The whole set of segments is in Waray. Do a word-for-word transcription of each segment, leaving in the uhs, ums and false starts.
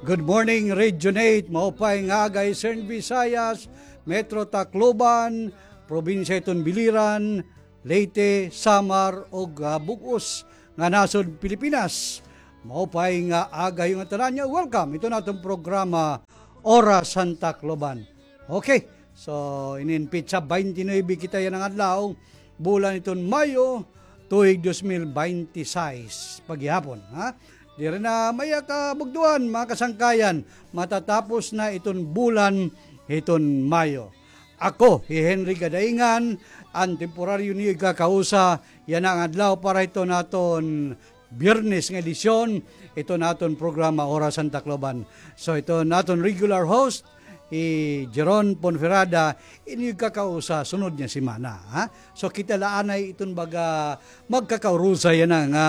Good morning, Regionate. Maupay nga aga, Eastern Visayas, Metro Tacloban, probinsya iton Biliran, Leyte, Samar, ug, ah, bug-os nga nasod Pilipinas. Maupay nga aga ha iyo ngatanan, nga welcome iton aton programa, Oras han Tacloban. Okay, so inin petsa twenty-nine kita yana nga adlaw, bulan iton Mayo, tuig dos mil binte y seis, paghihapon, ha? Diri na maiha, kabugtoan, mga kasangkayan, matatapos na iton bulan hiton Mayo. Ako hi Henry Gadaingan, an temporaryo niyo igkakausa yana nga adlaw para hiton aton Biyernes nga edisyon hiton aton programa, Oras han Tacloban. So, hiton aton regular host, hi Jeron Ponferrada, inyo igkakausa sunod nga semana, ha? So, kita la anay iton baga magkakaurusa yana nga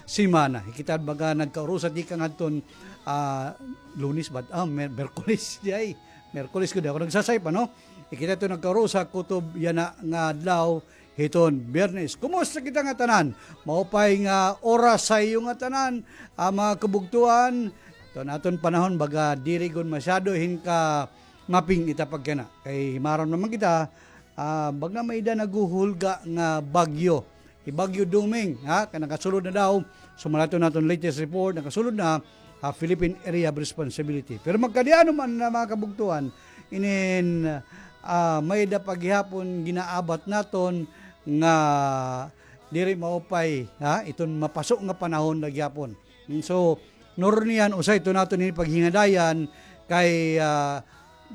semana. Kita baga nagkaurusa tikang hadton, ah, Lunes ba? Ah, Mer-, Miyerkules, diay. Miyerkules gud, ako nagsasayop, ano? Kita iton nagkaurusa kutob yana nga adlaw, hiton Biyernes. Kumusta kita ngatanan? Maupay nga oras ha iyo ngatanan, ah, mga kabugtoan. Iton aton panahon, baga diri gud masyado hin ka maping-it ha pagkayana. Kay maaram naman kita, ah, baga may-ada naghuhulga nga bagyo. Hi Bagyo Dumeng, ha? Kay nakasulod na daw. Sumala iton aton latest report, nakasulod na, ah, Philippine Area of Responsibility. Pero magkadi-ano man na, mga kabugtoan, inin, ah, may-ada pa gihapon ginaabat naton nga diri maupay, ha? Iton mapaso nga panahon na gihapon. So, nurniyan, usa iton aton ini paghingadayan kay, ah,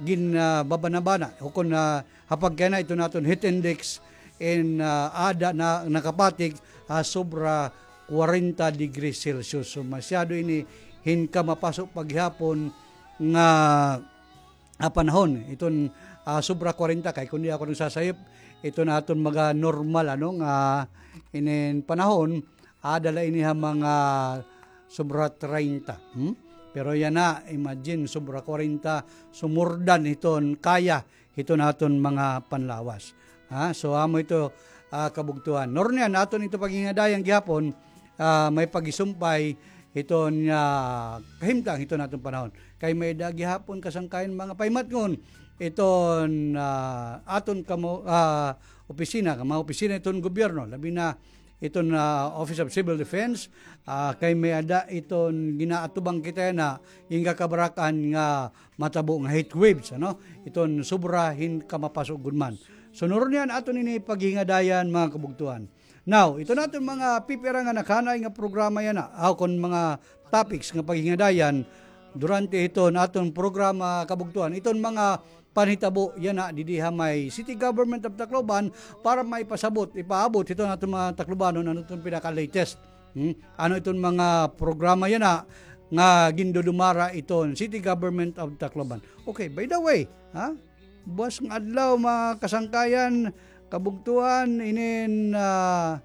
gin, ah, babana-bana. Ukon, ah, ha pagkayana iton aton heat index in, ah, aada na nakapatik, ah, sobra kwarenta degrees Celsius. So, masyado ini hin kamapaso paghihapon nga, ah, panahon. Iton, ah, sobra kwarenta, kay kon di ako nagsasayop, iton aton mga normal, ano, nga inin panahon, aada la ini ha mga sobra treinta. Hmm? Pero yana, imagine, sobra kwarenta, so more than hiton kaya hiton aton mga panlawas. Ha? So, amo ito, ah, kabugtoan. Nurniyan, aton ito paghingadayan gihapon, ah, may paghisumpay hiton, ah, kahimtang hiton aton panahon. Kay may-ada gihapon kasangkayan mga pahimatngon iton, ah, aton kamo, ah, opisina, mga opisina iton gobyerno, labi na iton, ah, Office of Civil Defense, ah, kay may-ada iton ginaatubang kita yana, in kakabarak-an nga matabo nga heat waves, ano? Iton sobra hin kamapaso gud man. So, nurniyan aton ini paghingadayan, mga kabugtoan. Now, iton aton mga pipira nga nakahanay nga programa yana, aw, kon mga topics nga paghingadayan durante hiton aton programa, kabugtoan. Iton mga panhitabo yana didi ha may City Government of Tacloban para maipasabot, ipaabot hiton aton mga Taclobanon ano iton pinaka-latest. Hmm? Ano iton mga programa yana nga gindudumara iton City Government of Tacloban. Okay, by the way, ha? Buwas nga adlaw, mga kasangkayan, kabugtoan, inin, ah,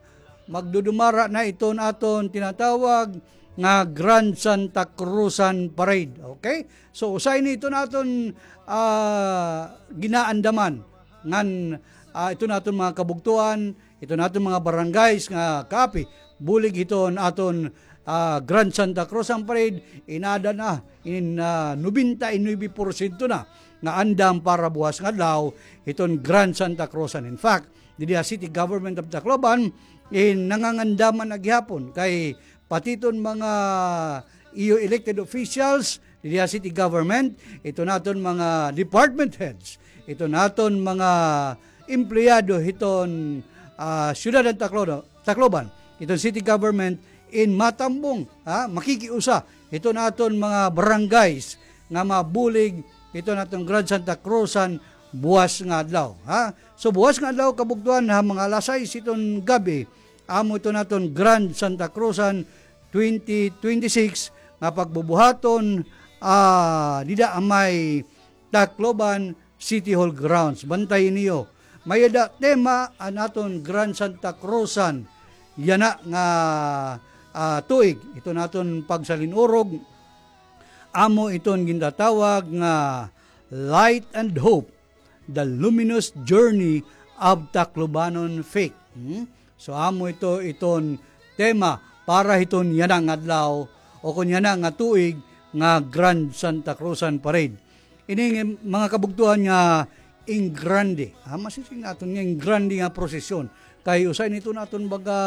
magdudumara na iton aton tinatawag nga Grand Santa Cruzan Parade. Okay? So, usa ini iton aton, ah, ginaandaman ngan, ah, iton aton mga kabugtoan, iton aton mga barangays nga kaapi, bulig hiton aton, ah, Grand Santa Cruzan Parade, in-aada na, in, ah, nobenta y nuebe porsyento na nga andam para buwas nga adlaw hiton Grand Santa Cruzan. In fact, didi ha City Government of Tacloban, in nangangandaman na gihapon kay pati iton mga iyo elected officials didi ha city government, iton aton mga department heads, iton aton mga empleyado hiton, ah, syudad han Taclo-, Tacloban, iton city government, in matambong, ha, makikiusa hiton aton mga barangays nga mabulig hiton aton Grand Santa Cruzan buwas nga adlaw, ha. So, buwas nga adlaw, kabugtoan, ha mga alas sais hiton gab-i, amo iton aton Grand Santa Cruzan twenty twenty-six nga pagbubuhaton, ah, dida ha may Tacloban City Hall grounds. Bantayi niyo. May-ada tema an aton Grand Santa Cruzan yana nga, ah, tuig. Iton aton pagsalin-urog, amo iton gintatawag nga Light and Hope, the luminous journey of Taclobanon faith. Hmm? So, amo ito iton tema para hiton yana nga adlaw, o kon yana nga tuig, nga Grand Santa Cruzan Parade. Ini nga mga kabugtuan nga in grande, ha, masising naton nga in grande nga prosesyon. Kay usa ini iton aton baga,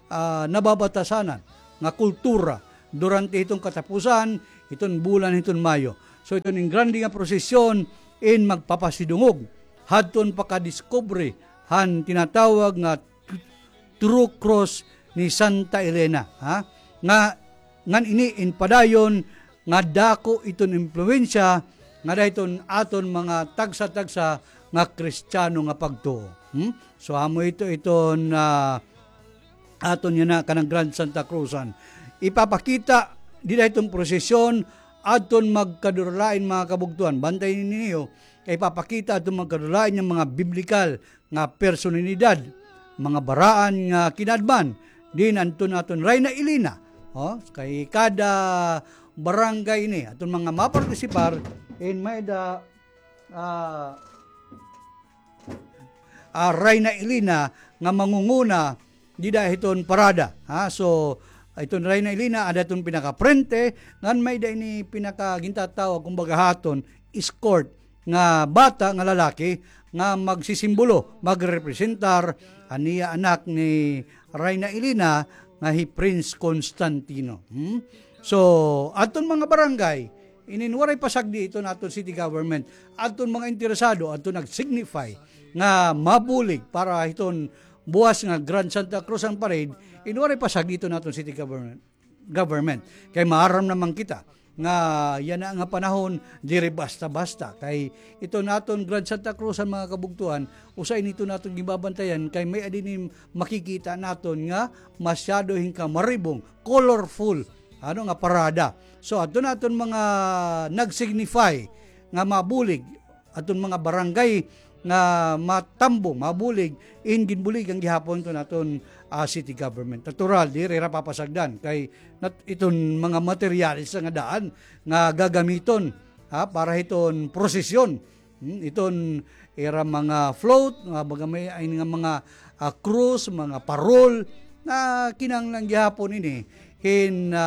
ah, nababatasanan nga kultura durante hiton katapusan hiton bulan hiton Mayo. So iton in grande nga prosesyon in magpapasidungog hadton pakadiskubre han tinatawag nga True Cross ni Santa Elena, ha? Nga, ngan ini in padayon nga dako iton impluwensya nga dida hiton aton mga tagsa-tagsa nga Kristiyano nga pagtuo. Hmm? So, amo ito iton, ah, aton yana kanang Grand Santa Cruzan. Ipapakita dida hiton prosesyon adton magkaduralain, mga kabugtuan. Bantay ninyo, kay ipapakita adton magkaduralain nga mga biblikal nga personalidad, mga baraan nga kinadman, din adton aton Rayna Elena. Oh, kay kada barangay ini, aton mga mapartisipar, in may-ada, ah, ah, Rayna Elena nga mangunguna dida hiton parada. Ha? So, iton Rayna Elena, ada iton pinakaprente, ngan may-ada ini pinaka gintatawag, kumbaga, haton, escort, nga bata nga lalaki nga magsisimbolo, magrepresentar an iya anak ni Rayna Elena nga hi Prince Constantino. Hmm? So, adton mga barangay, inin waray pasagdi iton aton city government, adton mga interesado, adton nag-signify nga mabulig para hiton buwas nga Grand Santa Cruzan Parade, in waray pasagdi iton aton city government. government. Kay maaram naman kita nga yana nga panahon, diri basta-basta. Kay iton aton Grand Santa Cruzan, mga kabugtuan, usa ini iton aton ginbabantayan, kay may-ada ini makikita naton nga masyado hin kamaribong, colorful, ano, nga parada. So, adton aton mga nag-signify nga mabulig, aton mga barangay nga matambong, mabulig, in ginbuligan gihapon iton aton, ah, city government. Natural, diri hira papasagdan kay nat-, iton mga materyales nga daan nga gagamiton, ha, para hiton prosesyon. Hmm, iton ira mga float, nga baga may, ay nga mga, ah, krus, mga parol, na kinahanglan gihapon ini hin, ah,